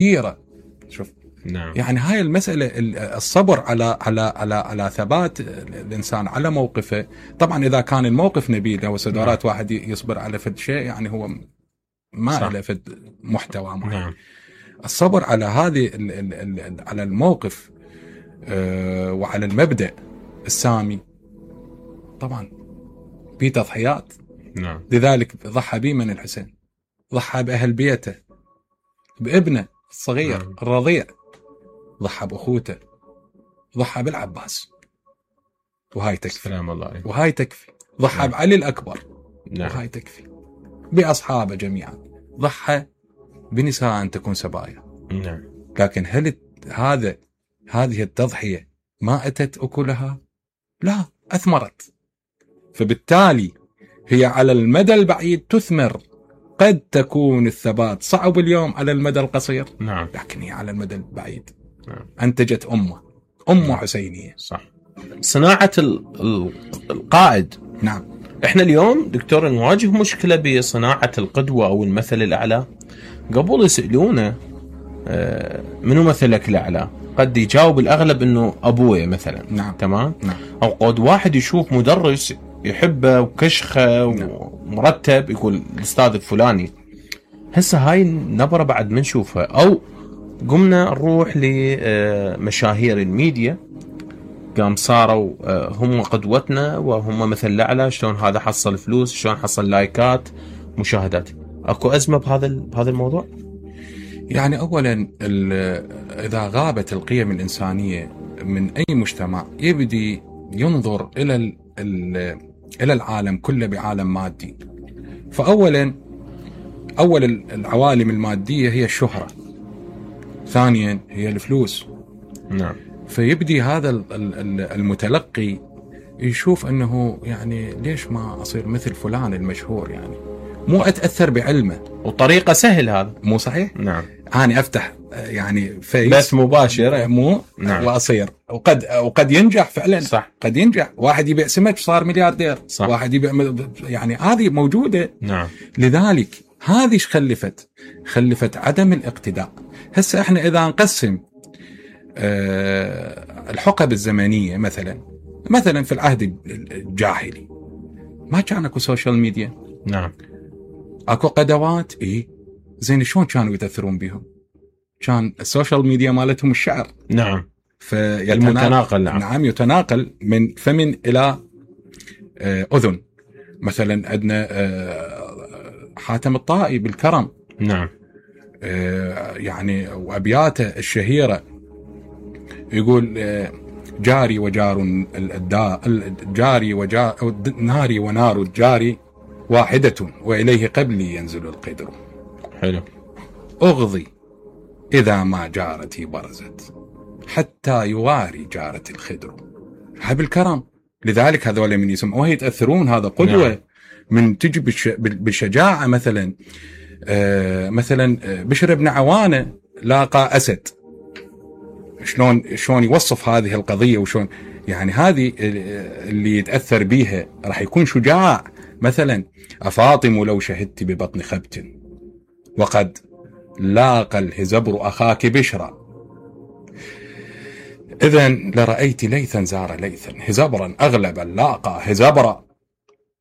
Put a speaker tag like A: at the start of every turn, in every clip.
A: كثيرة. شوف،
B: نعم.
A: يعني هاي المسألة، الصبر على ثبات الإنسان على موقفه. طبعا إذا كان الموقف نبيل أو سدارات واحد يصبر على فد شيء، يعني هو ما له فد محتوى معين.
B: نعم.
A: الصبر على هذه على الموقف وعلى المبدأ السامي طبعا في تضحيات.
B: نعم.
A: لذلك ضحى به من الحسين، ضحى بأهل بيته، بابنه الصغير الرضيع، ضحى بأخوته، ضحى بالعباس، وهاي تكفي.
B: سلام الله عليه.
A: وهاي تكفي. ضحى بعلي الأكبر، وهاي تكفي. بأصحابه جميعا ضحى بنساء أن تكون سبايا.
B: نعم.
A: لكن هل هذه التضحية ما أتت أكلها؟ لا، أثمرت. فبالتالي هي على المدى البعيد تثمر. قد تكون الثبات صعب اليوم على المدى القصير،
B: نعم،
A: لكن هي على المدى البعيد
B: نعم.
A: أنتجت أمة حسينية.
B: صح. صناعة القائد.
A: نعم.
B: احنا اليوم دكتور نواجه مشكلة بصناعة القدوة أو المثل الأعلى. قبل يسألونه منو مثلك الأعلى، قد يجاوب الأغلب إنه أبوي مثلا.
A: نعم.
B: تمام.
A: نعم.
B: أو قد واحد يشوف مدرس يحبه وكشخه
A: نعم.
B: ومرتب يقول الأستاذ الفلاني. هسه هاي النبرة بعد ما نشوفها، أو قمنا نروح لمشاهير الميديا، قام صاروا هم قدوتنا وهم مثل الأعلى. شلون هذا حصل فلوس، شلون حصل لايكات، مشاهدات. أكو أزمة بهذا الموضوع؟
A: يعني أولا إذا غابت القيم الإنسانية من أي مجتمع يبدي ينظر إلى العالم كله بعالم مادي. فأولا العوالم المادية هي الشهرة، ثانيا هي الفلوس.
B: نعم.
A: فيبدي هذا المتلقي يشوف أنه يعني ليش ما أصير مثل فلان المشهور، يعني مو أتأثر بعلمه.
B: وطريقة سهل هذا،
A: مو صحيح؟
B: نعم.
A: أنا أفتح يعني
B: فيس بث مباشر،
A: مو
B: نعم.
A: وأصير وقد ينجح فعلا.
B: صح.
A: قد ينجح، واحد يبيع سمك صار ملياردير.
B: صح.
A: واحد يبيع، يعني هذه موجودة.
B: نعم.
A: لذلك هذه ايش خلفت عدم الاقتداء. هسه احنا إذا نقسم الحقب الزمنية، مثلا في العهد الجاهلي ما كان اكو سوشيال ميديا.
B: نعم.
A: اكو قدوات، زين شلون كانوا يتأثرون بهم؟ كان السوشيال ميديا مالتهم الشعر.
B: نعم. المتناقل.
A: نعم، يتناقل من فم إلى أذن. مثلا عندنا حاتم الطائي بالكرم.
B: نعم.
A: يعني وأبياته الشهيرة يقول جاري وجار جاري وجار ناري ونار الجاري واحدة وإليه قبلي ينزل القدر.
B: حلو.
A: أغضي إذا ما جارتي برزت حتى يواري جارة الخدر. هاي بالكرم. لذلك هذول من يسمعوه يتأثرون. هذا قدوة. نعم. من تجي بالشجاعة. مثلا بشر بن عوانة لاقى أسد، شلون يوصف هذه القضية، وشلون يعني هذه اللي يتأثر بيها راح يكون شجاع. مثلا أفاطم لو شهدت ببطن خبت وقد لاقى الهزبر أخاك بشرا، إذن لرأيت ليثا زار ليثا هزبرا أغلب لاقى هزبرا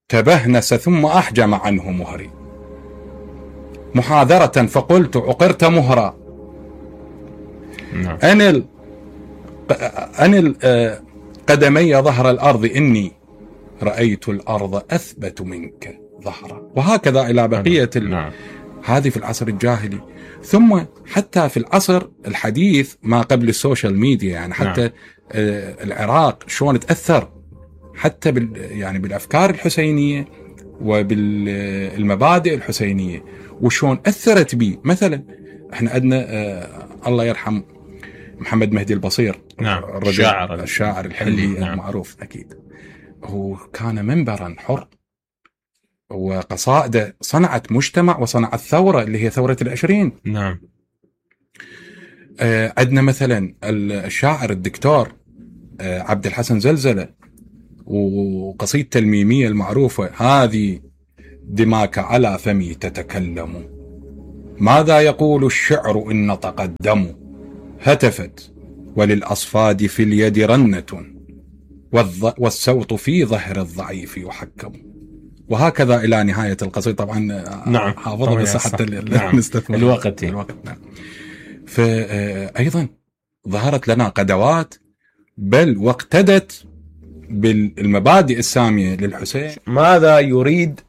A: تبهنس ثم أحجم عنه مهري محاذرة فقلت عقرت مهرا. أنل قدمي ظهر الأرض إني رأيت الأرض أثبت منك ظهرا. وهكذا إلى بقية هذه في العصر الجاهلي. ثم حتى في العصر الحديث ما قبل السوشيال ميديا، يعني حتى العراق شلون تأثر حتى يعني بالأفكار الحسينية وبالمبادئ الحسينية، وشلون أثرت به. مثلا احنا عندنا الله يرحم محمد مهدي البصير.
B: نعم.
A: الشاعر الحلي. نعم. المعروف أكيد. هو كان منبرا حر، وقصائده صنعت مجتمع وصنعت ثورة اللي هي ثورة العشرين.
B: نعم.
A: عندنا مثلا الشاعر الدكتور عبد الحسن زلزلة وقصيدته الميمية المعروفة هذه دماك على فمي تتكلم ماذا يقول الشعر إن نطق الدم؟ هتفت وللأصفاد في اليد رنة، والصوت في ظهر الضعيف يحكم. وهكذا إلى نهاية القصيدة. طبعا
B: نعم
A: حافظة بس حتى
B: نعم.
A: نستثمر
B: الوقت.
A: نعم. فأيضا ظهرت لنا قدوات بل واقتدت بالمبادئ السامية للحسين.
B: ماذا يريد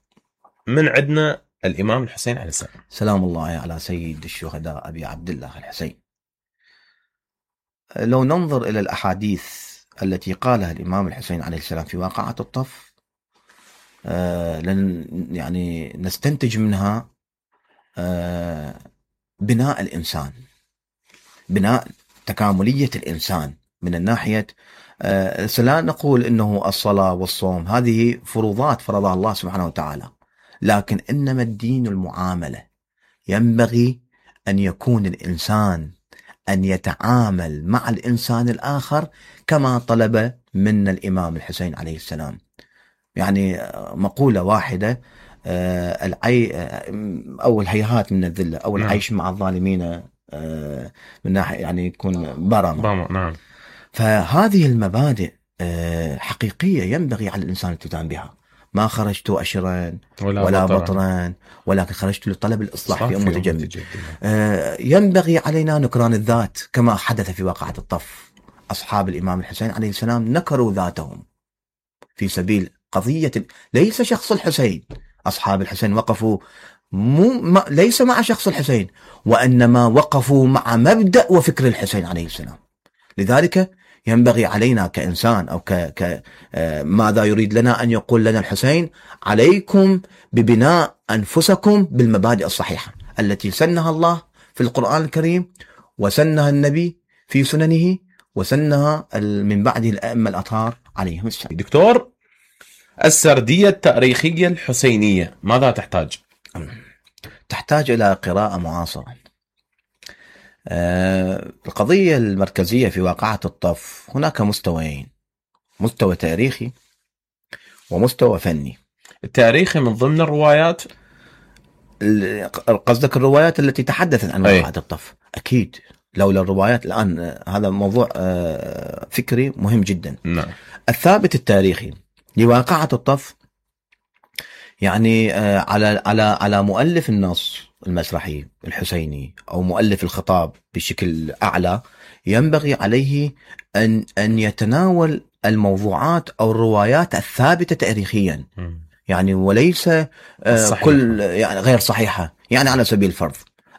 B: من عندنا الإمام الحسين عليه السلام؟
C: سلام الله على سيد الشهداء أبي عبد الله الحسين. لو ننظر إلى الأحاديث التي قالها الإمام الحسين عليه السلام في واقعة الطف، يعني نستنتج منها بناء الإنسان، بناء تكاملية الإنسان من الناحية. لا نقول إنه الصلاة والصوم هذه فروضات فرضها الله سبحانه وتعالى، لكن إنما الدين المعاملة. ينبغي أن يكون الإنسان أن يتعامل مع الإنسان الآخر كما طلب منا الإمام الحسين عليه السلام. يعني مقولة واحدة، أو الهيهات من الذلة، أو العيش مع الظالمين من ناحية يعني يكون برمة.
B: نعم.
C: فهذه المبادئ حقيقية ينبغي على الإنسان الالتزام بها. ما خرجت أشرا ولا بطرا، ولكن خرجت لطلب الإصلاح في أمة جميع. ينبغي علينا نكران الذات كما حدث في واقعة الطف. أصحاب الإمام الحسين عليه السلام نكروا ذاتهم في سبيل قضية، ليس شخص الحسين. أصحاب الحسين وقفوا ليس مع شخص الحسين، وإنما وقفوا مع مبدأ وفكر الحسين عليه السلام. لذلك ينبغي علينا كإنسان أو ماذا يريد لنا أن يقول لنا الحسين؟ عليكم ببناء أنفسكم بالمبادئ الصحيحة التي سنها الله في القرآن الكريم، وسنها النبي في سننه، وسنها من بعده الأئمة الأطهار عليهم السلام.
B: دكتور، السردية التاريخية الحسينية ماذا تحتاج؟
C: تحتاج إلى قراءة معاصرة. القضية المركزية في واقعة الطف هناك مستويين، مستوى تاريخي ومستوى فني.
B: التاريخي من ضمن الروايات،
C: قصدك الروايات التي تحدثت عن واقعة الطف؟ أكيد، لولا الروايات الآن هذا موضوع فكري مهم جدا.
B: نعم.
C: الثابت التاريخي لواقعة الطف يعني على مؤلف النص المسرحي الحسيني أو مؤلف الخطاب بشكل أعلى، ينبغي عليه أن يتناول الموضوعات أو الروايات الثابتة تاريخيا، يعني وليس كل يعني غير صحيحة. يعني على سبيل الفرض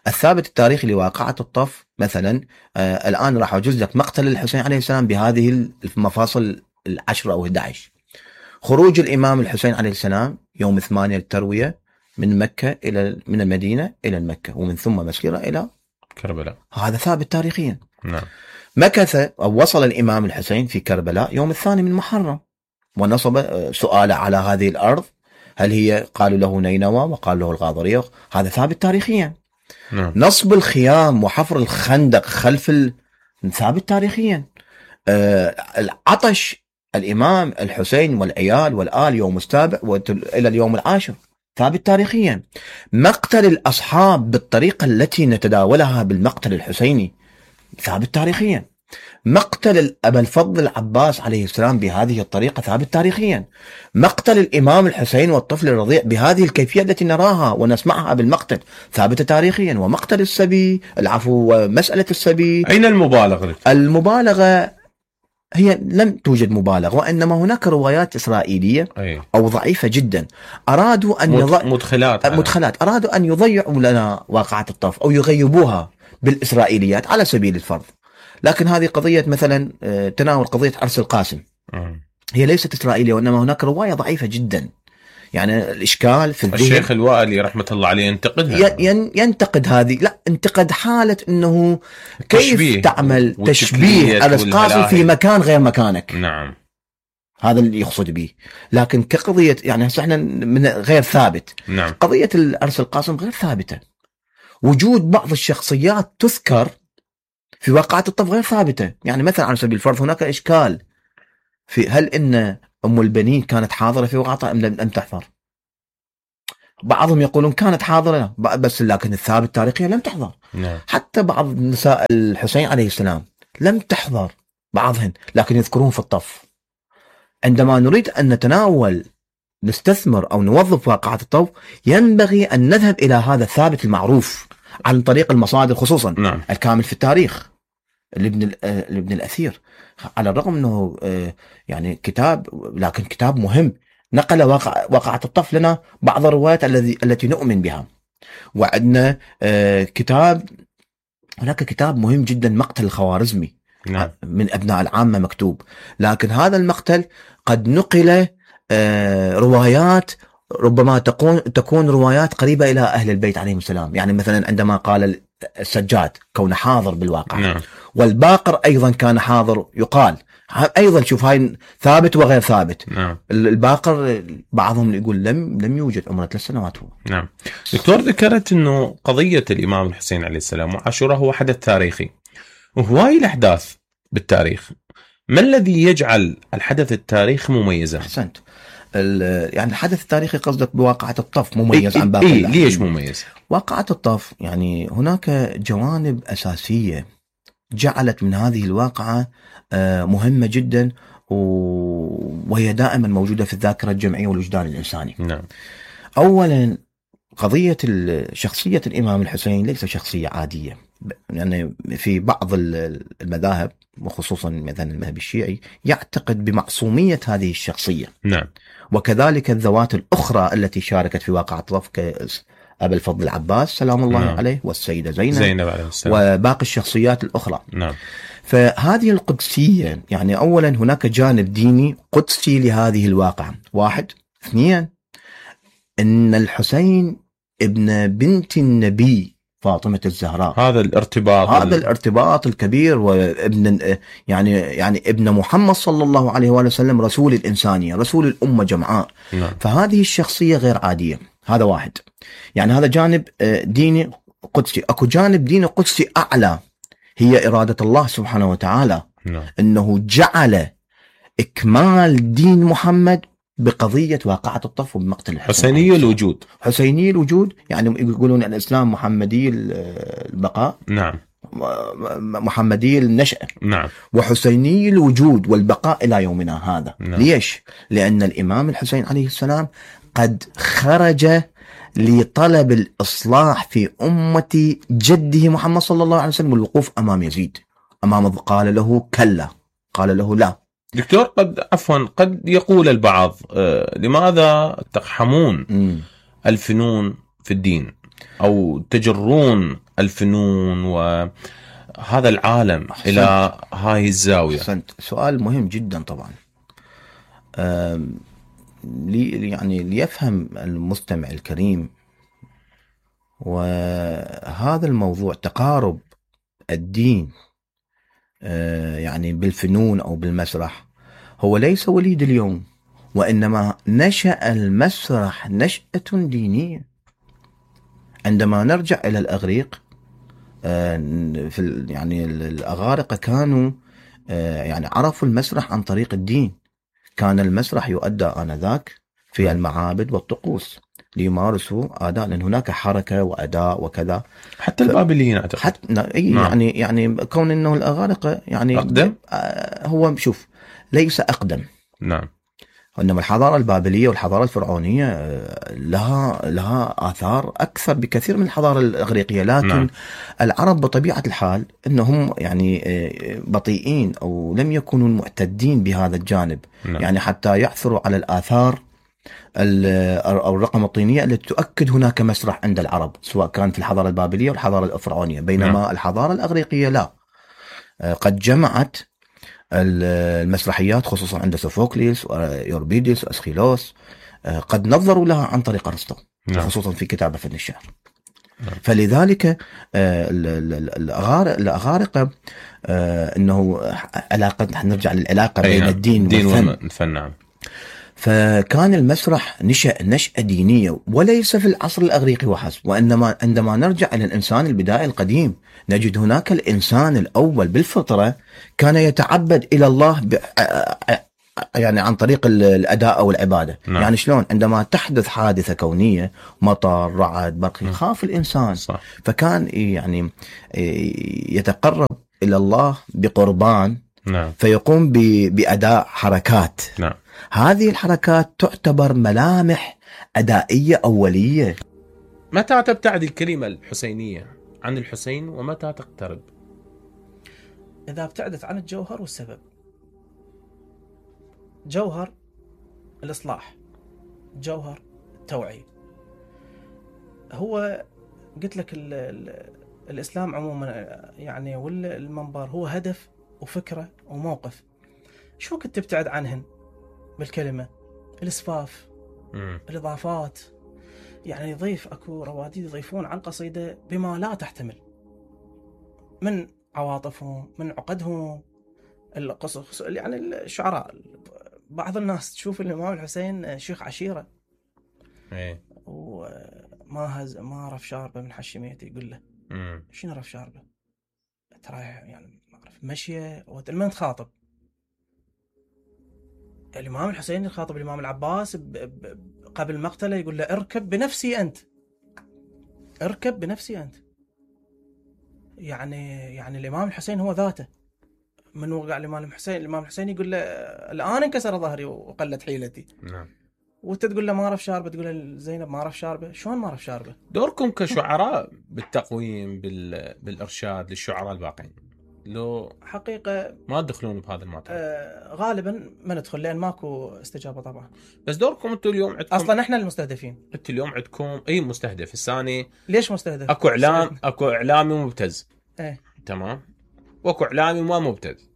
C: الثابت التاريخي لواقعة الطف مثلا، الآن راح أجوز لك مقتل الحسين عليه السلام بهذه المفاصل 10 أو 11. خروج الإمام الحسين عليه السلام يوم 8 التروية من مكة من المدينة إلى مكة، ومن ثم مسيرة إلى
B: كربلاء،
C: هذا ثابت تاريخيا.
B: نعم.
C: مكث أو وصل الإمام الحسين في كربلاء يوم 2 من محرم، ونصب سؤال على هذه الأرض، هل هي قالوا له نينوى وقال له الغاضرية، هذا ثابت تاريخيا.
B: نعم.
C: نصب الخيام وحفر الخندق خلف ثابت تاريخيا. العطش الإمام الحسين والعيال والآل يوم السابع إلى اليوم العاشر ثابت تاريخيا. مقتل الأصحاب بالطريقة التي نتداولها بالمقتل الحسيني ثابت تاريخيا. مقتل أبا الفضل العباس عليه السلام بهذه الطريقة ثابت تاريخيا. مقتل الإمام الحسين والطفل الرضيع بهذه الكيفية التي نراها ونسمعها بالمقتل ثابت تاريخيا. ومقتل السبي، ومسألة السبي،
B: أين المبالغة؟
C: المبالغة هي لم توجد مبالغة، وإنما هناك روايات إسرائيلية أو ضعيفة جدا أرادوا أن مدخلات أرادوا أن يضيعوا لنا واقعة الطف أو يغيبوها بالإسرائيليات على سبيل الفرض. لكن هذه قضية مثلا تناول قضية عرس القاسم، هي ليست إسرائيلية، وإنما هناك رواية ضعيفة جدا. يعني الإشكال في الذهن. الشيخ
B: الوائلي رحمة الله عليه ينتقدها،
C: ينتقد هذه، لا انتقد حالة أنه كيف تعمل تشبيه عرس القاسم في مكان غير مكانك.
B: نعم،
C: هذا اللي يقصد به. لكن كقضية يعني احنا من غير ثابت.
B: نعم.
C: قضية عرس القاسم غير ثابتة. وجود بعض الشخصيات تذكر في واقعة الطف غير ثابتة. يعني مثلا على سبيل الفرض هناك إشكال في هل إن أم البنين كانت حاضرة في واقعة أم لم تحضر؟ بعضهم يقولون كانت حاضرة بس لكن الثابت تاريخيا لم تحضر. حتى بعض نساء الحسين عليه السلام لم تحضر بعضهن، لكن يذكرون في الطف. عندما نريد أن نتناول نستثمر أو نوظف واقعة الطف، ينبغي أن نذهب إلى هذا الثابت المعروف عن طريق المصادر، خصوصا الكامل في التاريخ لابن الأثير، على الرغم أنه يعني كتاب، لكن كتاب مهم نقل واقعة الطف لنا بعض الروايات التي نؤمن بها. وعندنا كتاب، هناك كتاب مهم جدا، مقتل الخوارزمي من أبناء العامة مكتوب، لكن هذا المقتل قد نقل روايات ربما تكون روايات قريبة إلى أهل البيت عليهم السلام. يعني مثلا عندما قال السجاد كونه حاضر بالواقع، والباقر أيضا كان حاضر، يقال أيضا شوف هاي ثابت وغير ثابت. الباقر بعضهم يقول لم يوجد، عمره 3 سنوات هو.
B: دكتور، ذكرت أنه قضية الإمام الحسين عليه السلام وعاشوراء هو حدث تاريخي، وهواي الأحداث بالتاريخ، ما الذي يجعل الحدث التاريخي مميزا؟
C: أحسنت. يعني الحدث التاريخي قصدك بواقعة الطف مميز عن باقي
B: ليش مميز؟
C: واقعة الطف يعني هناك جوانب أساسية جعلت من هذه الواقعة مهمة جدا، وهي دائما موجودة في الذاكرة الجمعية والوجدان الإنساني. أولا، قضية شخصية الإمام الحسين ليس شخصية عادية. يعني في بعض المذاهب وخصوصا مثلا المذهب الشيعي يعتقد بمعصومية هذه الشخصية. وكذلك الذوات الأخرى التي شاركت في واقعة الطف كأبا الفضل العباس سلام الله عليه، والسيدة زينب عليه السلام، وباقي الشخصيات الأخرى. فهذه القدسية، يعني أولا هناك جانب ديني قدسي لهذه الواقعة، 1. 2، أن الحسين ابن بنت النبي فاطمة الزهراء،
B: هذا
C: الارتباط الكبير، وابن يعني ابن محمد صلى الله عليه وآله وسلم، رسول الإنسانية، رسول الأمة جمعاء. فهذه الشخصية غير عادية. هذا 1. يعني هذا جانب ديني قدسي. أكو جانب ديني قدسي أعلى، هي إرادة الله سبحانه وتعالى، أنه جعل إكمال دين محمد بقضية واقعة الطف وبمقتل الحسين. حسيني الوجود، يعني يقولون الإسلام محمدي البقاء، محمدي النشأة، وحسيني الوجود والبقاء إلى يومنا هذا. ليش؟ لأن الإمام الحسين عليه السلام قد خرج لطلب الإصلاح في أمة جده محمد صلى الله عليه وسلم، والوقوف أمام يزيد، قال له كلا، قال له لا.
B: دكتور، قد يقول البعض لماذا تقحمون الفنون في الدين، أو تجرون الفنون وهذا العالم إلى هاي الزاوية؟
C: أحسنت. سؤال مهم جدا طبعا. يعني ليفهم المستمع الكريم، وهذا الموضوع تقارب الدين يعني بالفنون أو بالمسرح هو ليس وليد اليوم، وإنما نشأ المسرح نشأة دينية. عندما نرجع إلى الأغريق، يعني الأغارقة كانوا يعني عرفوا المسرح عن طريق الدين. كان المسرح يؤدى آنذاك في المعابد والطقوس ليمارسوا أداء، لأن هناك حركة وأداء وكذا.
B: حتى البابليين أعتقد.
C: يعني كون أنه الأغارقة يعني
B: أقدم،
C: هو شوف ليس أقدم. إنما الحضارة البابلية والحضارة الفرعونية لها آثار أكثر بكثير من الحضارة الإغريقية، لكن العرب بطبيعة الحال أنهم يعني بطيئين أو لم يكونوا معتدين بهذا الجانب. يعني حتى يعثروا على الآثار أو الرقم الطينية التي تؤكد هناك مسرح عند العرب، سواء كان في الحضارة البابلية والحضارة الفرعونية، بينما الحضارة الإغريقية لا، قد جمعت المسرحيات خصوصا عند سوفوكليس ويوربيديس وأسخيلوس، قد نظروا لها عن طريق أرسطو، خصوصا في كتابه فن الشعر. فلذلك الأغارقة أنه علاقة، نرجع للعلاقة بين الدين والفن. فكان المسرح نشأة دينية، وليس في العصر الأغريقي وحسب، وإنما عندما نرجع إلى الإنسان البدائي القديم نجد هناك الإنسان الأول بالفطرة كان يتعبد إلى الله يعني عن طريق الأداء أو العبادة.
B: نعم.
C: يعني شلون عندما تحدث حادثة كونية، مطر، رعد، برق، يخاف الإنسان.
B: صح.
C: فكان يعني يتقرب إلى الله بقربان.
B: نعم.
C: فيقوم بأداء حركات.
B: نعم.
C: هذه الحركات تعتبر ملامح أدائية أولية.
B: متى تبتعد الكلمة الحسينية عن الحسين ومتى تقترب؟
D: إذا ابتعدت عن الجوهر والسبب. جوهر الإصلاح، جوهر التوعية. هو قلت لك الإسلام عموما يعني والمنبر هو هدف وفكرة وموقف. شو كنت تبتعد عنهن بالكلمة؟ الإسفاف، الإضافات. يعني يضيف أكو رواديد يضيفون على القصيدة بما لا تحتمل من عواطفهم، من عقدهم، القصص. يعني الشعراء بعض الناس تشوف الإمام الحسين شيخ عشيرة، وما رف شاربه من حشميته. يقول له شنو رف شاربه؟ ترى يعني ما اعرف مشيه ومن تخاطب الإمام الحسين يخاطب الإمام العباس قبل مقتله، يقول له اركب بنفسي أنت، اركب بنفسي أنت. يعني الإمام الحسين هو ذاته. من وقع الإمام الحسين يقول له الآن انكسر ظهري وقلت حيلتي.
B: نعم.
D: وانت تقول له ما رف شاربه، تقول له زينب ما رف شاربه. شلون ما رف شاربه؟
B: دوركم كشعراء بالتقويم بالإرشاد للشعراء الباقين لو
D: حقيقة
B: ما تدخلون بهذا المعطى؟
D: غالبا ما ندخل لأن ماكو استجابة طبعا.
B: بس دوركم انتم اليوم عندكم
D: اصلا احنا المستهدفين.
B: انتم اليوم عندكم اي مستهدف الثاني.
D: ليش مستهدف؟
B: اكو اعلامي مبتز. تمام. واكو اعلامي ما مبتز.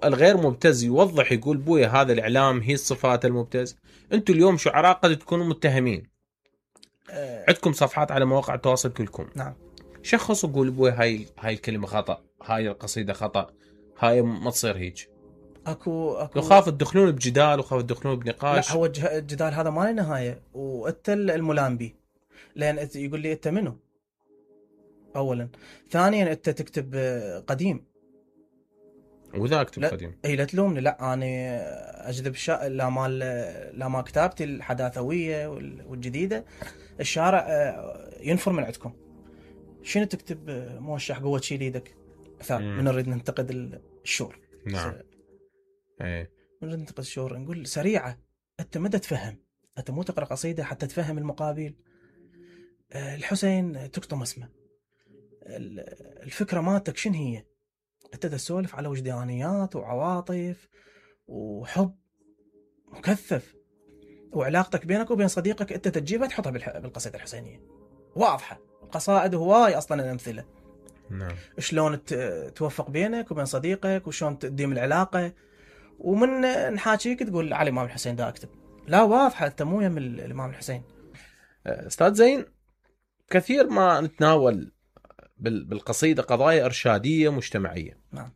B: الغير مبتز يوضح يقول بويا هذا الاعلام هي الصفات المبتز. انتم اليوم شعراء قد تكونوا متهمين. عندكم صفحات على مواقع التواصل كلكم.
D: نعم.
B: شخص وقول بوي هاي الكلمة خطأ، هاي القصيدة خطأ، هاي ما تصير هيك.
D: اكو
B: يخاف تدخلون بجدال وخاف تدخلون بنقاش.
D: لا، هو الجدال هذا ما له نهاية. وانت الملام به، لان يقول لي انت منو؟ اولا. ثانيا انت تكتب قديم
B: وذا اكتب قديم.
D: اي لا تلومني، لا انا اجذب لا ما كتابتي الحداثوية والجديدة الشارع ينفر من عندكم. شنو تكتب موشح قوة شيل ايدك من نريد ننتقد الشور.
B: نعم.
D: من نريد ننتقد الشور نقول سريعة. انت مدى تفهم، انت مو تقرأ قصيدة حتى تفهم المقابل. الحسين تكتم اسمه، الفكرة مالتك شنو هي؟ انت تسولف على وجدانيات وعواطف وحب مكثف، وعلاقتك بينك وبين صديقك انت تجيبها تحطها بالقصيدة الحسينية واضحة. القصائد هواي اصلا الامثله.
B: نعم.
D: شلون توفق بينك وبين صديقك وشلون تديم العلاقه. ومن نحاكيك تقول على الامام الحسين دا اكتب. لا واضحه انت مو يم الامام الحسين.
B: استاذ زين، كثير ما نتناول بالقصيده قضايا ارشاديه مجتمعيه.
D: نعم.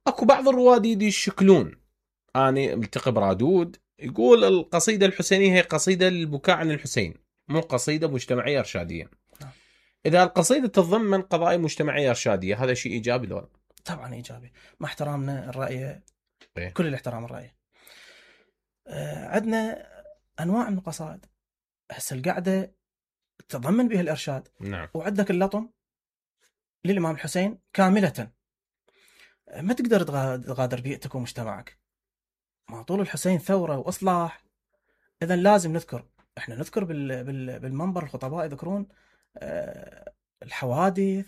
B: اكو بعض الرواديد يشكلون. انا ملتقي برادود يقول القصيده الحسينيه هي قصيده للبكاء عن الحسين، مو قصيده مجتمعيه ارشاديه. إذا القصيدة تتضمن قضايا مجتمعية إرشادية هذا شيء إيجابي لو؟
D: طبعا إيجابي، مع احترامنا الرأي. كل الاحترام الرأي. عندنا أنواع من القصائد هسه القاعدة تتضمن بها الإرشاد.
B: نعم.
D: وعندك اللطم للإمام الحسين كاملة. ما تقدر تغادر بيئتك ومجتمعك. ما طول الحسين ثورة وإصلاح. إذا لازم إحنا نذكر بالمنبر الخطباء يذكرون الحوادث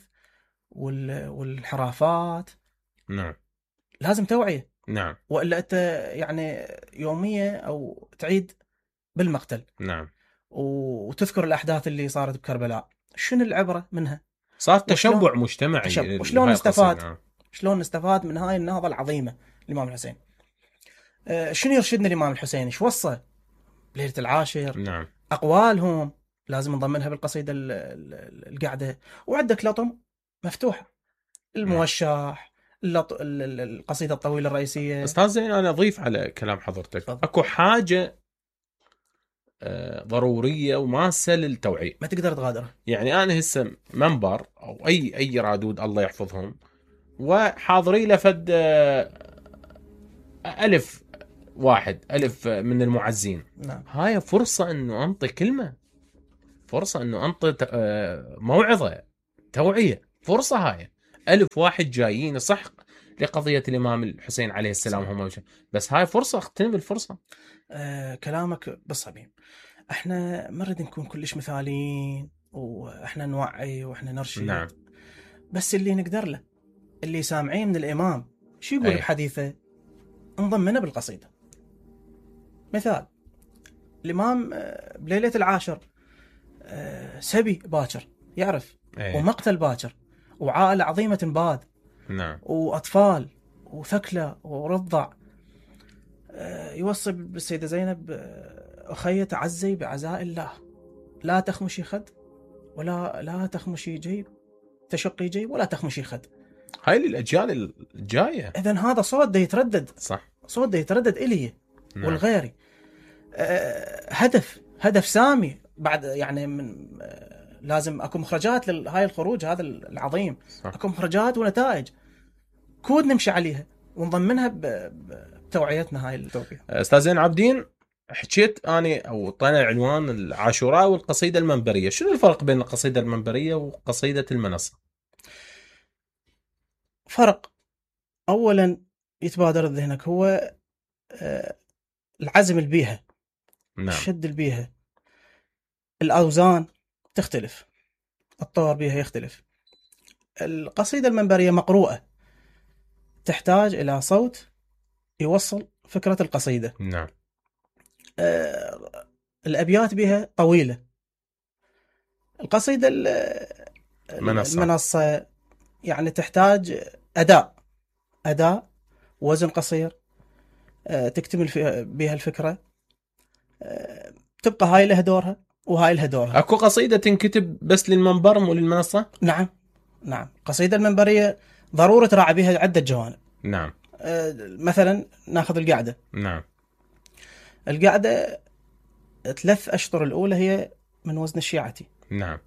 D: والانحرافات.
B: نعم.
D: لازم توعية.
B: نعم.
D: وإلا أنت يعني يومية أو تعيد بالمقتل.
B: نعم.
D: وتذكر الأحداث اللي صارت بكربلاء. شنو العبرة منها؟
B: صار تشبع مجتمعي.
D: وشلون نستفاد؟ شلون نستفاد من هاي النهضة العظيمة الإمام الحسين؟ شنو يرشدنا الإمام الحسين؟ إيش وصى ليلة العاشر؟
B: نعم.
D: أقوالهم لازم نضمنها بالقصيدة القعدة. وعندك لطم مفتوحة، الموشح، القصيدة الطويلة الرئيسية.
B: أستاذ زين، أنا أضيف على كلام حضرتك. أكو حاجة ضرورية وماسة للتوعية
D: ما تقدر تغادرها.
B: يعني أنا هسه منبر أو أي رادود الله يحفظهم وحاضري لفد ألف واحد، ألف من المعزين.
D: نعم.
B: هاي فرصة أنه أنطي كلمة، فرصة أنه أنطي موعظة، توعية، فرصة. هاي ألف واحد جايين صح لقضية الإمام الحسين عليه السلام هم، بس هاي فرصة، اغتنم الفرصة.
D: كلامك بالصميم. احنا ما نريد نكون كلش مثاليين واحنا نوعي واحنا نرشد.
B: نعم.
D: بس اللي نقدر له، اللي سامعين من الإمام شو يقول بحديثه نضمنه بالقصيدة. مثال الإمام بليلة العاشر سبي باكر يعرف، ومقتل باكر، وعائلة عظيمة تنباد،
B: نعم،
D: وأطفال وثكلى ورضع. يوصي بالسيدة زينب أخي تعزي بعزاء الله، لا تخمشي خد لا تخمشي جيب، تشقي جيب ولا تخمشي خد.
B: هاي للأجيال الجاية.
D: إذن هذا صوت ده يتردد،
B: صح،
D: صوت ده يتردد إلي.
B: نعم.
D: والغيري هدف سامي بعد، يعني من لازم اكو مخرجات لهاي الخروج هذا العظيم.
B: صح.
D: اكو مخرجات ونتائج كود نمشي عليها ونضمنها بتوعيتنا. هاي التوعية.
B: استاذ زين العابدين، حكيت اني او طلع عنوان العاشوراء والقصيدة المنبرية، شنو الفرق بين القصيدة المنبرية وقصيدة المنصة؟
D: فرق اولا يتبادر ذهنك هو العزم البيها.
B: نعم.
D: الشد البيها، الأوزان تختلف، الطور بيها يختلف. القصيدة المنبرية مقروءة، تحتاج إلى صوت يوصل فكرة القصيدة.
B: نعم.
D: الأبيات بها طويلة. القصيدة المنصة يعني تحتاج أداء وزن قصير، تكتمل بها الفكرة، تبقى هاي لها دورها وهاي لها دورها.
B: اكو قصيدة تنكتب بس للمنبر مو للمنصة؟
D: نعم. قصيدة المنبرية ضرورة تراعي بها عدة جوانب.
B: نعم.
D: مثلا ناخذ القعدة.
B: نعم.
D: القعدة 3 أشطر الأولى هي من وزن الشيعتي.
B: نعم.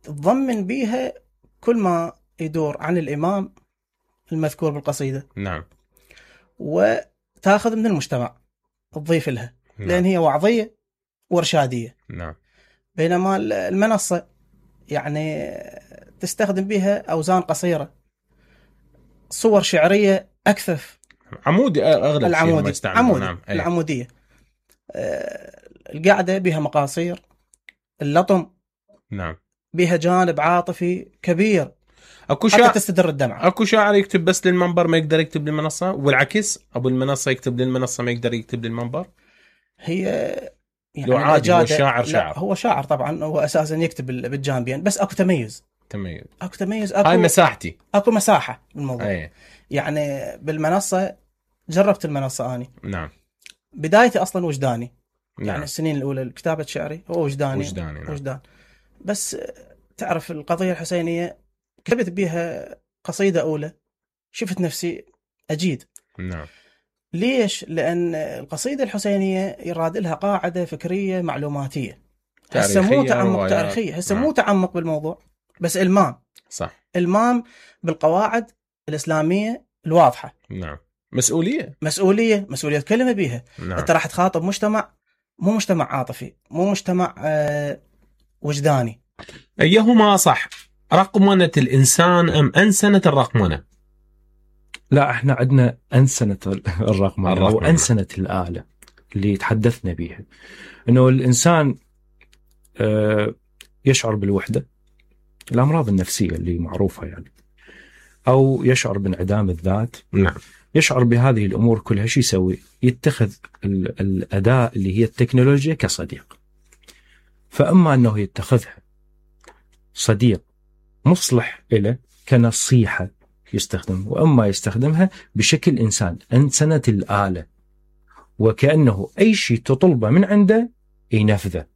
D: تضمن بيها كل ما يدور عن الإمام المذكور بالقصيدة.
B: نعم.
D: وتاخذ من المجتمع تضيف لها. نعم. لأن هي وعظية وإرشادية.
B: نعم.
D: بينما المنصة يعني تستخدم بها أوزان قصيرة، صور شعرية أكثف،
B: عمودي أغلب
D: العمودي.
B: شيء عمودي. نعم.
D: العمودية. القعدة بها مقاصير، اللطم
B: نعم
D: بها جانب عاطفي كبير،
B: اكو
D: حتى تستدر الدمعة.
B: اكو شاعر يكتب بس للمنبر ما يقدر يكتب للمنصة، والعكس ابو المنصة يكتب للمنصة ما يقدر يكتب للمنبر.
D: هي
B: يعني لو عادي هو شاعر
D: هو شاعر طبعا، هو اساسا يكتب بالجانبين، بس اكو تميز.
B: هاي مساحتي،
D: اكو مساحة بالموضوع. يعني بالمنصة جربت المنصة اني.
B: نعم.
D: بدايتي اصلا وجداني.
B: نعم.
D: يعني السنين الاولى الكتابة شعري هو وجداني.
B: نعم.
D: وجدان. بس تعرف القضية الحسينية كتبت بها قصيدة أولى، شفت نفسي أجيد.
B: نعم.
D: ليش؟ لأن القصيدة الحسينية يراد لها قاعدة فكرية معلوماتية، هسه مو تعمق تاريخية، هسه مو تعمق بالموضوع، بس إلمام.
B: صح.
D: إلمام بالقواعد الإسلامية الواضحة.
B: نعم. مسؤولية كلمة بيها.
D: نعم. أنت راح تخاطب مجتمع، مو مجتمع عاطفي، مو مجتمع وجداني.
B: أيهما صح؟ رقمنة الإنسان أم أنسنة الرقمنة؟
E: لا، احنا عندنا أنسنة الرقمنة أو أنسنة الآلة اللي تحدثنا بيها، إنه الإنسان يشعر بالوحدة، الأمراض النفسية اللي معروفة يعني، أو يشعر بانعدام الذات.
B: نعم.
E: يشعر بهذه الأمور كلها، شو يسوي؟ يتخذ الأداة اللي هي التكنولوجيا كصديق، فأما أنه يتخذها صديق مصلح إله كنصيحة يستخدم، وأما يستخدمها بشكل إنسان، أنسنة الآلة، وكأنه أي شيء تطلبه من عنده ينفذه.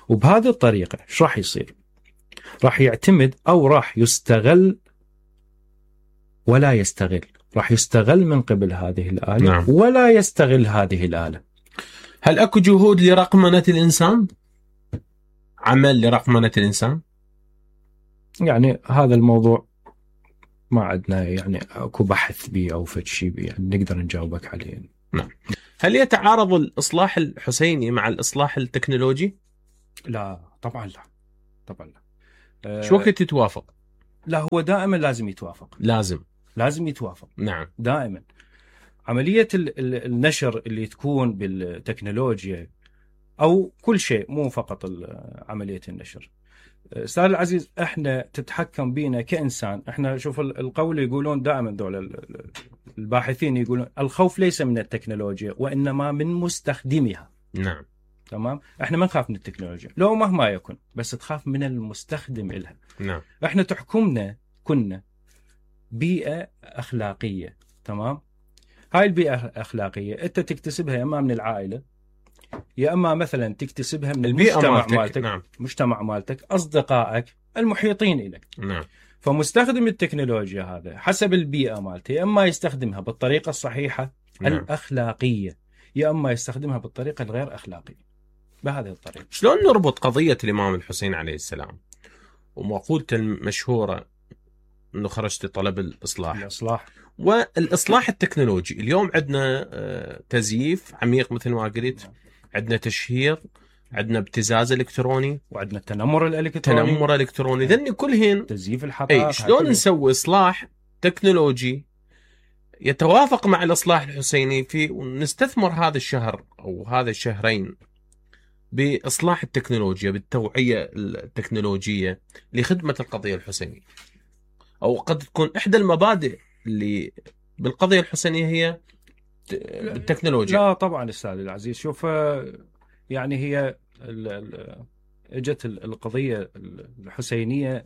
E: وبهذه الطريقة إيش راح يصير؟ راح يعتمد أو راح يستغل ولا يستغل، راح يستغل من قبل هذه الآلة. نعم. ولا يستغل هذه الآلة.
B: هل أكو جهود لرقمنة الإنسان؟ عمل لرقمنة الإنسان؟
E: يعني هذا الموضوع ما عندنا يعني اكو بحث بي او فد شيء يعني نقدر نجاوبك عليه.
B: نعم. هل يتعارض الإصلاح الحسيني مع الإصلاح التكنولوجي؟
E: لا طبعا لا، طبعا لا.
B: شو وقت يتوافق؟
E: لا هو دائما لازم يتوافق، لازم يتوافق.
B: نعم.
E: دائما عملية النشر اللي تكون بالتكنولوجيا أو كل شيء، مو فقط عملية النشر. أستاذ العزيز، احنا تتحكم بينا كإنسان. احنا شوف القول يقولون دائما دول الباحثين يقولون الخوف ليس من التكنولوجيا وإنما من مستخدمها.
B: نعم.
E: تمام. احنا ما نخاف من التكنولوجيا لو مهما يكن، بس تخاف من المستخدم إلها.
B: نعم.
E: احنا تحكمنا كنا بيئة أخلاقية. تمام. هاي البيئة الأخلاقية أنت تكتسبها يا إما من العائلة، يا إما مثلا تكتسبها من المجتمع مالتك.
B: نعم.
E: مجتمع مالتك، أصدقائك المحيطين لك.
B: نعم.
E: فمستخدم التكنولوجيا هذا حسب البيئة مالته، يا إما يستخدمها بالطريقة الصحيحة الأخلاقية، يا إما يستخدمها بالطريقة الغير أخلاقية. بهذه الطريقة.
B: شلون نربط قضية الإمام الحسين عليه السلام ومقولته المشهورة أنه خرجت طلب الإصلاح والإصلاح التكنولوجي؟ اليوم عندنا تزييف عميق مثل ما قلت، عندنا تشهير، عندنا ابتزاز إلكتروني،
E: وعندنا تنمر الإلكتروني.
B: ذني كلهن
E: تزييف الحقائق.
B: شلون نسوي إصلاح تكنولوجي يتوافق مع الإصلاح الحسيني في ونستثمر هذا الشهر أو هذا الشهرين بإصلاح التكنولوجيا، بالتوعية التكنولوجية لخدمة القضية الحسينية؟ أو قد تكون إحدى المبادئ اللي بالقضية الحسينية هي بالتكنولوجيا.
E: لا طبعا أستاذ العزيز، شوف يعني هي اجت القضية الحسينية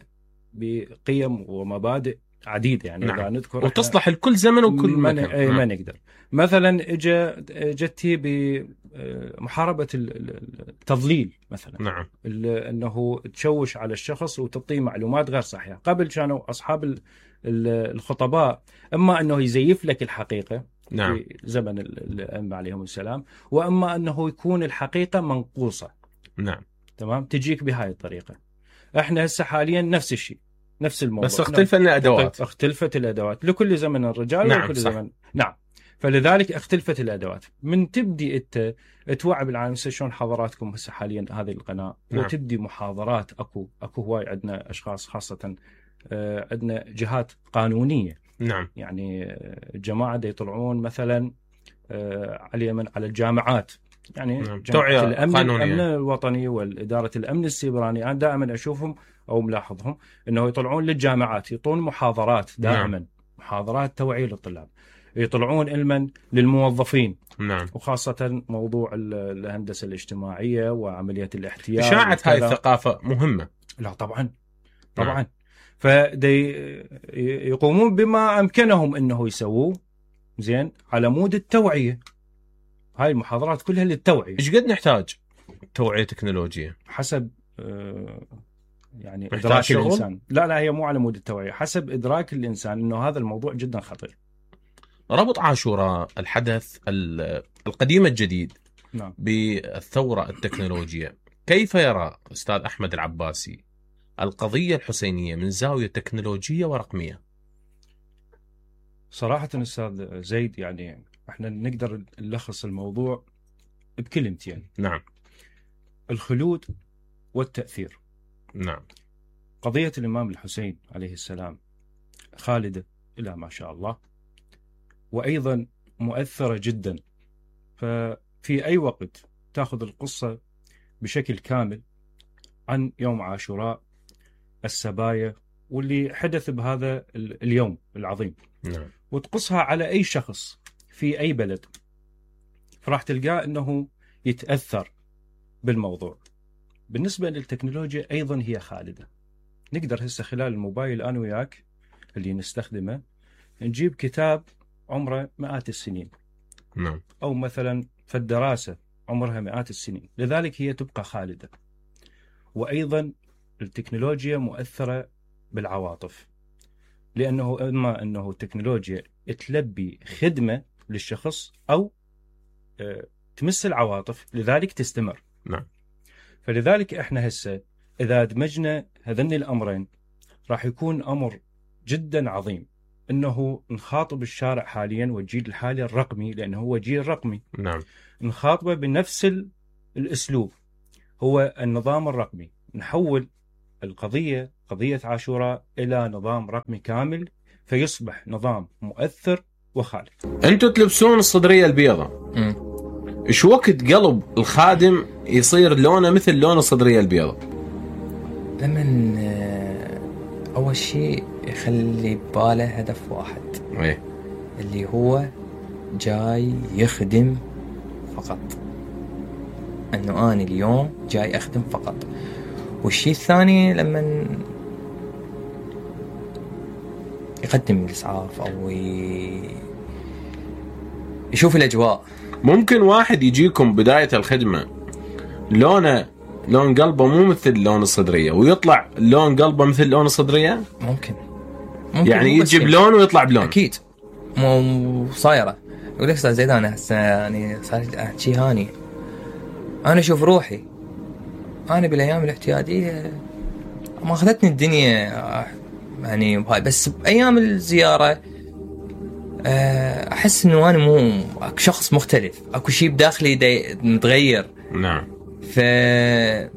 E: بقيم ومبادئ عديدة يعني.
B: نعم.
E: نذكر
B: وتصلح لكل زمن وكل مكان.
E: ما نقدر مثلا جتي بمحاربة التضليل مثلا.
B: نعم.
E: انه تشوش على الشخص وتعطيه معلومات غير صحيحة. قبل كانوا اصحاب الخطباء اما انه يزيف لك الحقيقة.
B: نعم.
E: في زمن الأئمة عليهم السلام، واما انه يكون الحقيقة منقوصة.
B: نعم.
E: تمام. تجيك بهاي الطريقة. احنا هسه حاليا نفس الشيء، نفس الموضوع،
B: بس اختلفت
E: الأدوات لكل زمن الرجال.
B: نعم.
E: ولكل
B: صح.
E: زمن. نعم. فلذلك اختلفت الأدوات. من تبدي أنت توعي بالعالم شلون حضراتكم هسه حاليا هذه القناة.
B: نعم.
E: وتبدي محاضرات. أكو هواي عندنا أشخاص خاصة عندنا جهات قانونية.
B: نعم.
E: يعني الجماعة دي يطلعون مثلا على الجامعات، يعني
B: نعم.
E: توعية الأمن الوطني والإدارة الأمن السيبراني. أنا دائما أشوفهم أو ملاحظهم أنه يطلعون للجامعات، يطلعون محاضرات دائما. نعم. محاضرات توعية للطلاب. يطلعون علما للموظفين.
B: نعم.
E: وخاصة موضوع الهندسة الاجتماعية وعملية الاحتيال.
B: إشاعة هاي الثقافة مهمة.
E: لا طبعا. نعم. فدي يقومون بما أمكنهم أنه يسووه زين على مود التوعية. هاي المحاضرات كلها للتوعية.
B: إيش قد نحتاج توعية تكنولوجية؟
E: حسب يعني إدراك الإنسان. لا هي مو على مود التوعية، حسب إدراك الإنسان أنه هذا الموضوع جدا خطير.
B: ربط عاشوراء الحدث القديم الجديد.
E: نعم.
B: بالثورة التكنولوجية، كيف يرى أستاذ أحمد العباسي القضية الحسينية من زاوية تكنولوجية ورقمية؟
E: صراحة أستاذ زيد، يعني احنا نقدر نلخص الموضوع بكلمتين.
B: نعم.
E: الخلود والتأثير.
B: نعم.
E: قضية الإمام الحسين عليه السلام خالدة إلى ما شاء الله، وأيضا مؤثرة جدا. ففي أي وقت تأخذ القصة بشكل كامل عن يوم عاشوراء، السبايا واللي حدث بهذا اليوم العظيم.
B: نعم.
E: وتقصها على أي شخص في أي بلد، فراح تلقاه أنه يتأثر بالموضوع. بالنسبة للتكنولوجيا أيضا هي خالدة. نقدر هسه خلال الموبايل أنا وياك اللي نستخدمه نجيب كتاب عمره مئات السنين.
B: نعم.
E: أو مثلا في الدراسة عمرها مئات السنين، لذلك هي تبقى خالدة. وأيضا التكنولوجيا مؤثرة بالعواطف، لأنه إما أنه التكنولوجيا تلبي خدمة للشخص أو تمس العواطف، لذلك تستمر.
B: نعم.
E: فلذلك إحنا هسه إذا دمجنا هذين الأمرين راح يكون أمر جدا عظيم انه نخاطب الشارع حاليا والجيل الحالي الرقمي، لانه هو جيل رقمي.
B: نعم.
E: نخاطبه بنفس الاسلوب، هو النظام الرقمي. نحول القضيه، قضيه عاشوراء، الى نظام رقمي كامل، فيصبح نظام مؤثر وخالد.
B: انتم تلبسون الصدريه البيضاء، ايش وقت قلب الخادم يصير لونه مثل لون الصدريه البيضاء؟
F: لمن اول شيء يخلي بباله هدف واحد، اللي هو جاي يخدم فقط، انه انا اليوم جاي اخدم فقط. والشيء الثاني لما يقدم الاسعاف او يشوف الاجواء.
B: ممكن واحد يجيكم بدايه الخدمه لون قلبه مو مثل لون الصدريه، ويطلع لون قلبه مثل لون الصدريه.
F: ممكن
B: يعني يجي بلون ويطلع بلون.
F: اكيد مو صايره. يقول لك استاذ زيد انا هسه يعني صار شيء هاني، انا اشوف روحي انا بالايام الاعتياديه ما اخذتني الدنيا يعني هاي، بس بايام الزياره احس انه انا مو شخص مختلف، اكو شيء بداخلي متغير.
B: نعم.
F: فهذا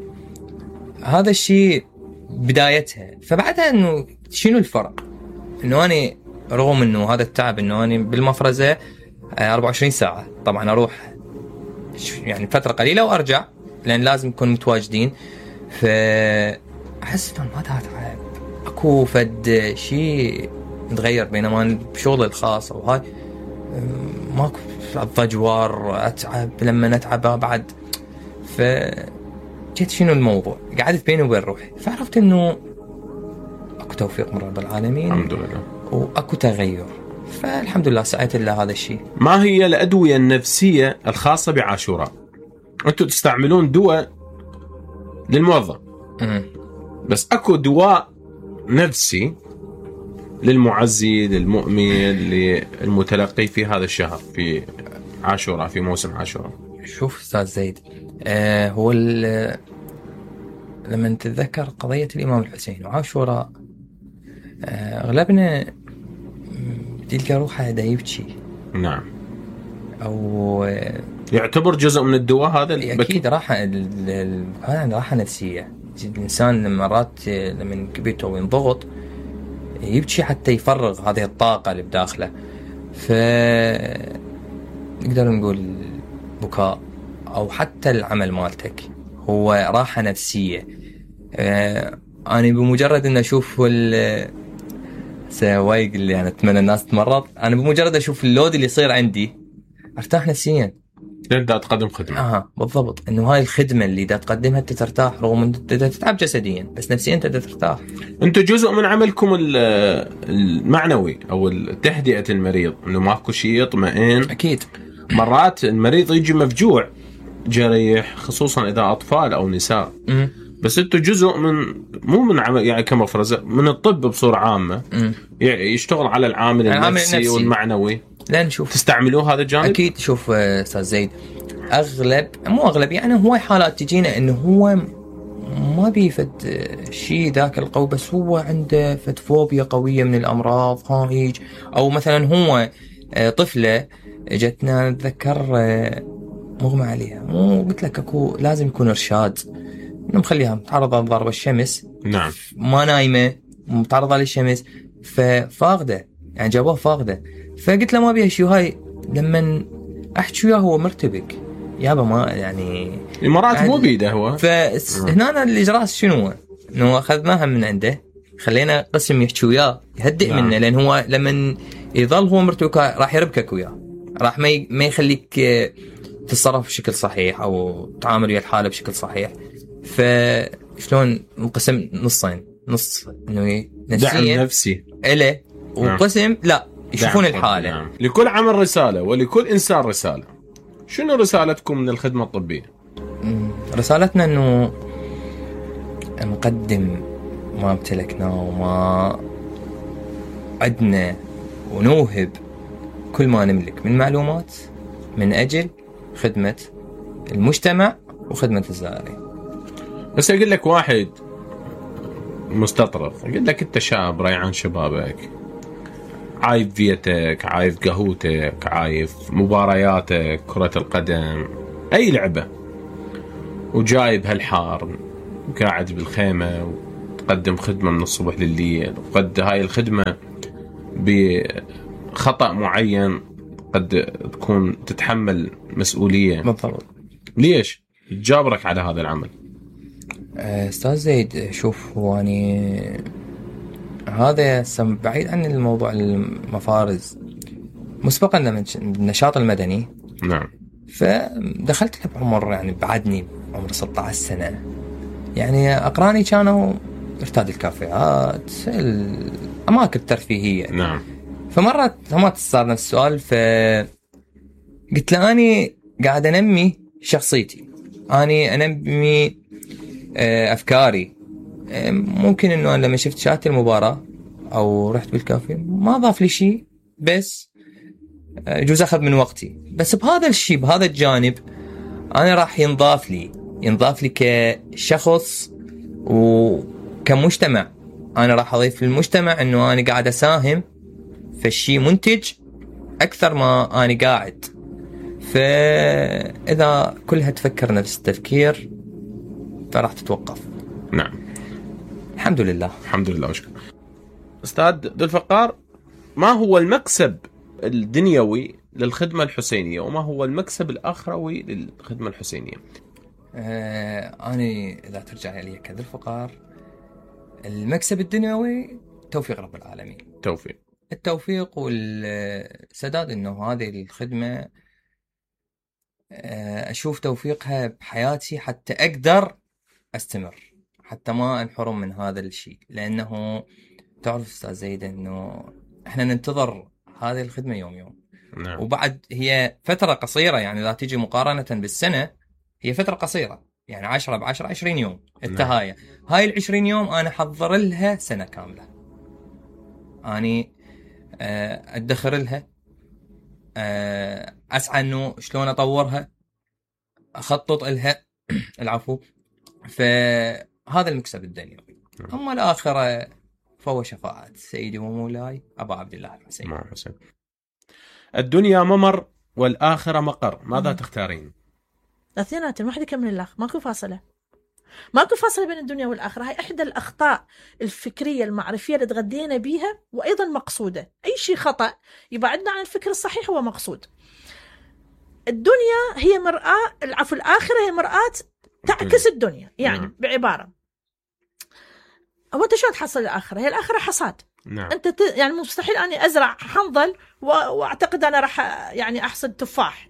F: الشيء بدايتها. فبعدها انه شنو الفرق؟ انه انا رغم انه هذا التعب، انه انا بالمفرزه 24 ساعه طبعا اروح يعني فتره قليله وارجع، لان لازم نكون متواجدين. فاحس انه ما اتعب، اكو فد شيء متغير. بينما بشغل الخاص او هاي ماكو الضجوار، اتعب لما اتعب بعد. فجيت شنو الموضوع؟ قعدت بيني وبين روحي، فعرفت انه اكو توفيق من رب العالمين
B: الحمد لله،
F: واكو تغير. فالحمد لله سعيت لله هذا الشيء.
B: ما هي الادويه النفسيه الخاصه بعاشوراء؟ انتم تستعملون دواء للموظف، بس اكو دواء نفسي للمعزي، للمؤمن، للمتلقي في هذا الشهر، في عاشوراء، في موسم عاشوراء.
F: شوف استاذ زيد، هو لما تتذكر قضية الإمام الحسين وعاشوراء، أغلبنا تلقى روحه دا يبكي.
B: نعم.
F: أو
B: يعتبر جزء من الدواء هذا.
F: أكيد راحة نفسية. الإنسان مرات لما كبيته وينضغط يبكي حتى يفرغ هذه الطاقة اللي بداخله. نقدر نقول بكاء أو حتى العمل مالتك هو راحة نفسية. أنا بمجرد أن أشوف وايق اللي أنا أتمنى الناس تمرض، أنا بمجرد أشوف اللود اللي يصير عندي أرتاح نفسيا.
B: تبدأ تقدم خدمة.
F: بالضبط، إنه هاي الخدمة اللي دا تقدمها أنت ترتاح، رغم أن أنت تتعب جسديا بس نفسيا أنت ترتاح.
B: أنت جزء من عملكم المعنوي أو تهدئة المريض، إنه ماكو شيء يطمئن.
F: أكيد.
B: مرات المريض يجي مفجوع جريح، خصوصا إذا أطفال أو نساء. بس أنتوا جزء مو من عمل يعني كمفرزة، من الطب بصورة عامة. يشتغل على العامل النفسي والمعنوي.
F: لا نشوف
B: تستعملوه هذا الجانب؟
F: أكيد. شوف أستاذ زيد، مو أغلب يعني هواي حالات تجينا إنه هو ما بيفد شيء ذاك القوي، بس هو عنده فد فوبيا قوية من الأمراض هيج. أو مثلا هو طفلة جتنا نتذكر مغمى عليها، مو قلت لك أكو لازم يكون إرشاد إنه مخليها متعرضة لضرب الشمس.
B: نعم.
F: ما نايمة، متعرضة للشمس، ففاقدة يعني جابوها فاقدة. فقلت له ما بيها شيء. هاي لما أحكي وياه هو مرتبك يابا، ما يعني
B: مرات مو بيده هو.
F: فهنا الإجراء شنو؟ إنه أخذناها من عنده، خلينا قسم يحكي وياه يهدئ منه، لأن هو لما يظل هو مرتبك راح يربكك وياه، راح ما يخليك تتصرف بشكل صحيح أو تعامل ويا الحالة بشكل صحيح. فشلون نقسم نصين، نص إنه
B: دعم نفسي
F: إله، وقسم لا يشوفون الحالة.
B: نعم. لكل عمل رسالة ولكل إنسان رسالة. شنو رسالتكم من الخدمة الطبية؟
F: رسالتنا أنه نقدم ما امتلكناه وما عدنا، ونوهب كل ما نملك من معلومات من أجل خدمة المجتمع وخدمة الزائرين.
B: بس أقول لك واحد مستطرد. قلت لك انت شاب ريعان شبابك، عايف فيتك، عايف قهوتك، عايف مبارياتك كرة القدم، اي لعبة، وجايب هالحار قاعد بالخيمة وتقدم خدمة من الصبح لليل، وقد هاي الخدمة بخطأ معين قد تكون تتحمل مسؤولية.
F: بالضبط.
B: ليش تجابرك على هذا العمل؟
F: استاذ زيد، شوف هو يعني هذا بعيد عن الموضوع المفارز. مسبقا لما النشاط المدني،
B: نعم،
F: فدخلت له بعمر يعني بعدني عمر 16 سنة. يعني أقراني كانوا ارتاد الكافيهات، الأماكن الترفيهية.
B: نعم.
F: فمرة هم صار نفس السؤال، فقلت له أني قاعد أنمي شخصيتي، أني أنمي أفكاري. ممكن إنه أنا لما شفت شاهدت المباراة أو رحت بالكافيه ما ضاف لي شيء، بس يجوز أخذ من وقتي، بس بهذا الشيء بهذا الجانب أنا راح ينضاف لي كشخص وكمجتمع. أنا راح أضيف للمجتمع إنه أنا قاعد أساهم في الشيء منتج أكثر ما أنا قاعد. فإذا كلها تفكر نفس التفكير فراح تتوقف.
B: نعم،
F: الحمد لله.
B: الحمد لله وشكرا. أستاذ ذو الفقار، ما هو المكسب الدنيوي للخدمة الحسينية وما هو المكسب الآخروي للخدمة الحسينية؟
F: أنا إذا ترجع لي كذا الفقار، المكسب الدنيوي توفيق رب العالمين. التوفيق والسداد، إنه هذه الخدمة أشوف توفيقها بحياتي حتى أقدر أستمر، حتى ما أنحرم من هذا الشيء. لأنه تعرف أستاذ زيد إنه إحنا ننتظر هذه الخدمة يوم.
B: نعم.
F: وبعد هي فترة قصيرة، يعني إذا تيجي مقارنة بالسنة هي فترة قصيرة، يعني 10 ب10 20 يوم التهاية. هاي ال20 يوم أنا حضر لها سنة كاملة، أني أدخر لها، أسعى إنه شلون أطورها، أخطط لها العفو. فهذا المكسب الدنيوي. أما الآخرة فهو شفاعة سيدي ومولاي أبا عبد الله الحسين.
B: الدنيا ممر والآخرة مقر، ماذا تختارين؟
G: الاثنيناتهم، واحد يكمل الآخر، ماكو فاصلة بين الدنيا والآخرة. هاي إحدى الأخطاء الفكرية المعرفية اللي تغذينا بيها، وأيضا مقصودة. أي شيء خطأ يبعدنا عن الفكر الصحيح هو مقصود. الدنيا هي مرآة، الآخرة هي مرآة تعكس الدنيا. يعني بعبارة، هو أنت شلون تحصل الآخرة؟ هي الآخرة حصاد.
B: نعم.
G: أنت يعني مستحيل أني أزرع حنظل وأعتقد أنا راح يعني أحصد تفاح.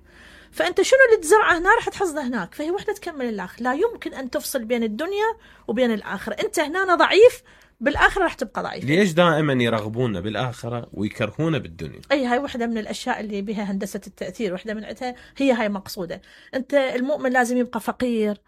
G: فأنت شنو اللي تزرعه هنا راح تحصده هناك. فهي وحدة تكمل الآخر. لا يمكن أن تفصل بين الدنيا وبين الآخرة. أنت هنا ضعيف، بالآخرة راح تبقى ضعيف.
B: ليش دائما يرغبون بالآخرة ويكرهون بالدنيا؟
G: هاي واحدة من الأشياء اللي بها هندسة التأثير. واحدة من عتها هي هاي مقصودة. أنت المؤمن لازم يبقى فقير،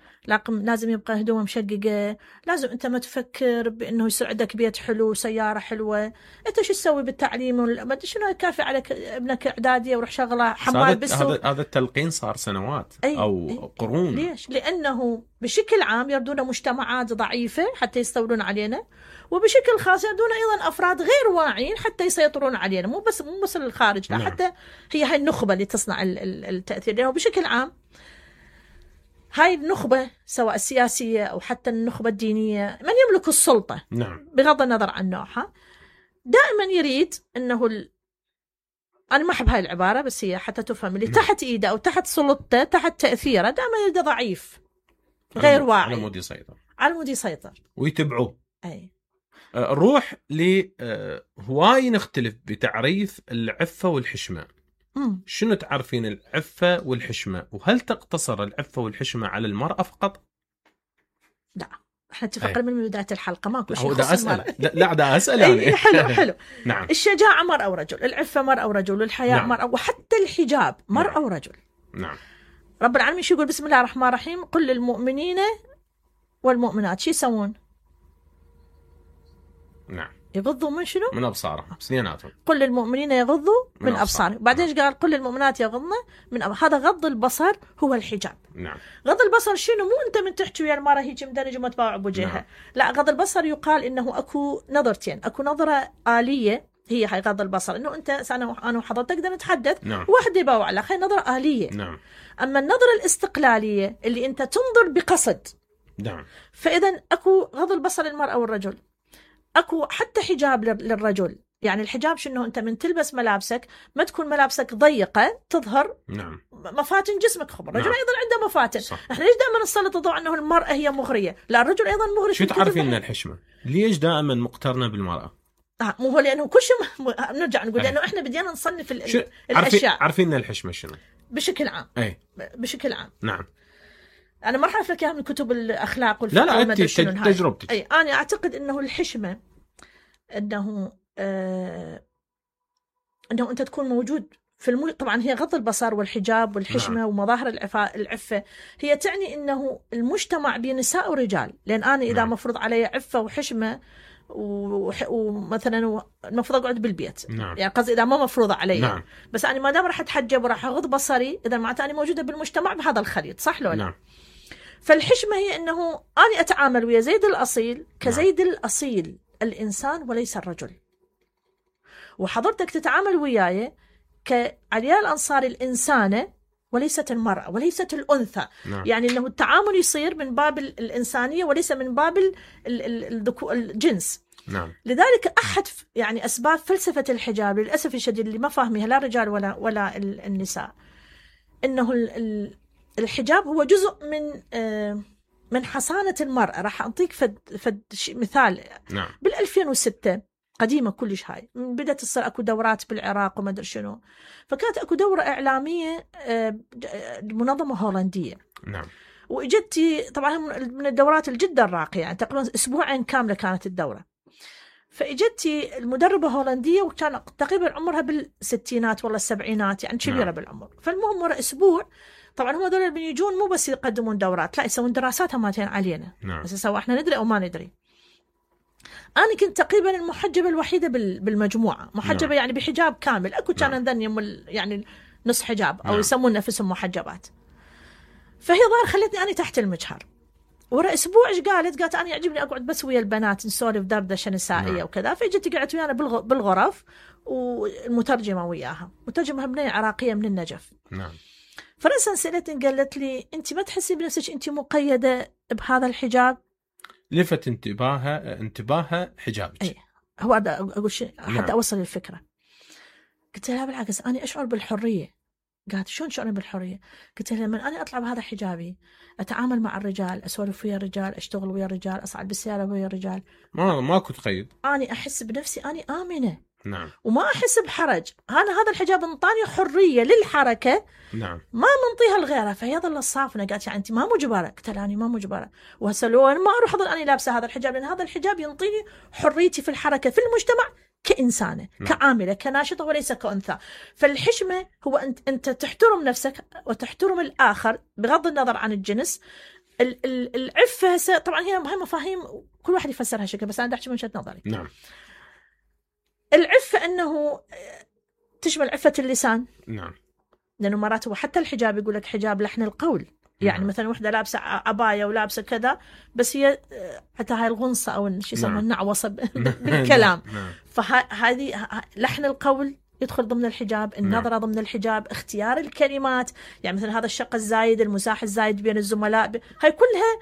G: لازم يبقى هدومه مشققة، لازم أنت ما تفكر بأنه يصير عندك بيت حلو سيارة حلوة. أنت شو تسوي بالتعليم؟ ما شنو كافي عليك ابنك إعدادية وروح شغله حمال بالسوق.
B: هذا التلقين صار سنوات أو قرون.
G: ليش؟ لأنه بشكل عام يردون مجتمعات ضعيفة حتى يستولون علينا، وبشكل خاص يردون أيضا أفراد غير واعين حتى يسيطرون علينا. مو بس الخارج، لا، حتى هي هاي النخبة اللي تصنع التأثير. لأنه بشكل عام هاي النخبة سواء السياسية أو حتى النخبة الدينية، من يملك السلطة بغض النظر عن نوعها، دائما يريد أنه أنا ما أحب هاي العبارة بس هي حتى تفهم، اللي تحت إيده أو تحت سلطته تحت تأثيره دائما يريد ضعيف غير واعي، على مود يسيطر
B: ويتبعوه. روح هواي نختلف بتعريف العفة والحشمة. شنو تعرفين العفة والحشمة؟ وهل تقتصر العفة والحشمة على المرأة فقط؟
G: لا، احنا اتفقنا من بداية الحلقة ماكو شيء
B: يخص المرأة. لا دا أسأل يعني.
G: حلو.
B: نعم.
G: الشجاعة مرأة ورجل، العفة مرأة ورجل، والحياء
B: نعم.
G: مرأة، وحتى الحجاب مرأة ورجل.
B: نعم.
G: رب العالمين شو يقول؟ بسم الله الرحمن الرحيم، قل للمؤمنين والمؤمنات شو يسوون؟
B: نعم.
G: يغضوا من شنو؟
B: من ابصارهم اثنيناتهم.
G: قل للمؤمنين يغضوا من ابصارهم. بعدين ايش قال؟ قل للمؤمنات يغضن من هذا غض البصر هو الحجاب.
B: نعم.
G: غض البصر شنو؟ مو انت من تحكي ويا المراه هيك مدرج وما تباوع بوجهها. نعم. لا، غض البصر يقال انه اكو نظرتين، اكو نظره آلية هي هاي غض البصر، انه انت انا وحضرتك نقدر نتحدث. نعم. واحد يباوع لك، هاي نظره آلية. نعم. اما النظره الاستقلاليه اللي انت تنظر بقصد.
B: نعم.
G: فاذا اكو غض البصر للمراه والرجل، اكو حتى حجاب للرجل. يعني الحجاب شنو؟ انت من تلبس ملابسك ما تكون ملابسك ضيقه تظهر.
B: نعم.
G: مفاتن جسمك. خبر الرجل. نعم. ايضا عنده مفاتن.
B: صح.
G: احنا ليش دائما نسلط الضوء انه المراه هي مغريه؟ لا، الرجل ايضا مغري.
B: شو تعرفين من الحشمه؟ ليش دائما مقترنه بالمراه؟
G: مو هو لانه كل شيء نرجع نقول لانه احنا بدينا نصنف الاشياء.
B: عارفين ان الحشمه شنو؟
G: بشكل عام.
B: اي
G: بشكل عام.
B: نعم.
G: انا ما راح اعرف لك اياها من كتب الاخلاق والفقه.
B: لا انت تجربتك.
G: اي انا اعتقد انه الحشمه انه انه انت تكون موجود في طبعا هي غض البصر والحجاب والحشمه. نعم. ومظاهر العفه هي تعني انه المجتمع بنساء ورجال. لان انا اذا مفروض علي عفه وحشمه ومثلا المفروض اقعد بالبيت.
B: نعم.
G: يعني قصدي اذا ما مفروضه علي.
B: نعم.
G: بس انا ما دام راح اتحجب وراح اغض بصري، اذا معناته انا موجوده بالمجتمع بهذا الخليط، صح لو لا؟
B: نعم.
G: فالحشمه هي انه انا اتعامل ويا زيد الاصيل كزيد الأصيل الإنسان وليس الرجل، وحضرتك تتعامل وياي كعلياء الأنصاري الإنسانة وليست المرأة وليست الأنثى.
B: نعم.
G: يعني أنه التعامل يصير من باب الإنسانية وليس من باب الجنس.
B: نعم.
G: لذلك أحد يعني أسباب فلسفة الحجاب للأسف الشديد اللي ما فاهمها لا الرجال ولا النساء، أنه الحجاب هو جزء من حصانة المرأة. راح أعطيك فد مثال.
B: نعم.
G: بال2006 قديمة كلش هاي، بدأت تصير أكو دورات بالعراق وما أدري شنو، فكانت أكو دورة إعلامية منظمة هولندية.
B: نعم.
G: وإجتي طبعا من الدورات الجدا راقية، يعني تقريبا أسبوعين كاملة كانت الدورة. فإجتي المدربة هولندية وكان تقريبا عمرها بالستينات ولا السبعينات، يعني كبيرة. نعم. بالعمر. فالمهم ورا أسبوع طبعا هم دول اللي بيجون مو بس يقدمون دورات، لا يسوون دراسات هماتين علينا.
B: نعم.
G: بس سواء احنا ندري او ما ندري. انا كنت تقريبا المحجبه الوحيده بالمجموعه، محجبه. نعم. يعني بحجاب كامل. اكو كان عندنا يعني نص حجاب او. نعم. يسمون نفسهم محجبات. فهي ظاهر خلتني انا تحت المجهر. ورا اسبوع ايش قالت انا يعجبني اقعد بس ويا البنات نسولف دردشه نسائيه. نعم. وكذا. فاجت قعدت ويانا بالغرف والمترجمه وياها، مترجمه بنيه عراقيه من النجف.
B: نعم.
G: فرأسا سألتني قالت لي أنت ما تحسي بنفسك أنت مقيدة بهذا الحجاب؟
B: لفت انتباهها حجابك.
G: أي هو هذا أقول شيء حتى. نعم. أوصل الفكرة. قلت لها بالعكس أنا أشعر بالحرية. قالت شلون شعور بالحرية؟ قلت لها لما أنا أطلع بهذا حجابي أتعامل مع الرجال، أسولف ويا الرجال، أشتغل ويا الرجال، أصعد بالسيارة ويا الرجال،
B: ماكو تقيد.
G: أنا أحس بنفسي أنا آمنة.
B: نعم.
G: وما أحس بحرج. هذا الحجاب انطاني حرية للحركة.
B: نعم.
G: ما منطيها لغيرها. فهي ظل الصافنة. قالت يعني أنت ما مجبرة؟ قلت لها أنا ما مجبرة، وهسه لو أنا ما أروح أظل أنا لابسة هذا الحجاب، لأن هذا الحجاب ينطيني حريتي في الحركة في المجتمع كإنسانة. نعم. كعاملة كناشطة وليس كأنثى. فالحشمة هو أنت تحترم نفسك وتحترم الآخر بغض النظر عن الجنس. العفة طبعا هي مفاهيم كل واحد يفسرها شكل، بس أنا أحكي من وجهة نظري.
B: نعم.
G: العفة أنه تشمل عفة اللسان.
B: نعم.
G: لأنه مرات هو حتى الحجاب يقول لك حجاب لحن القول. يعني. نعم. مثلا وحدة لابسة عباية ولابسة كذا، بس هي حتى هاي الغنصة أو شو يسمونه. نعم. النعوصة بالكلام.
B: نعم.
G: فهذه لحن القول يدخل ضمن الحجاب، النظرة. نعم. ضمن الحجاب، اختيار الكلمات. يعني مثلا هذا الشق الزايد، المزاح الزايد بين الزملاء، هاي كلها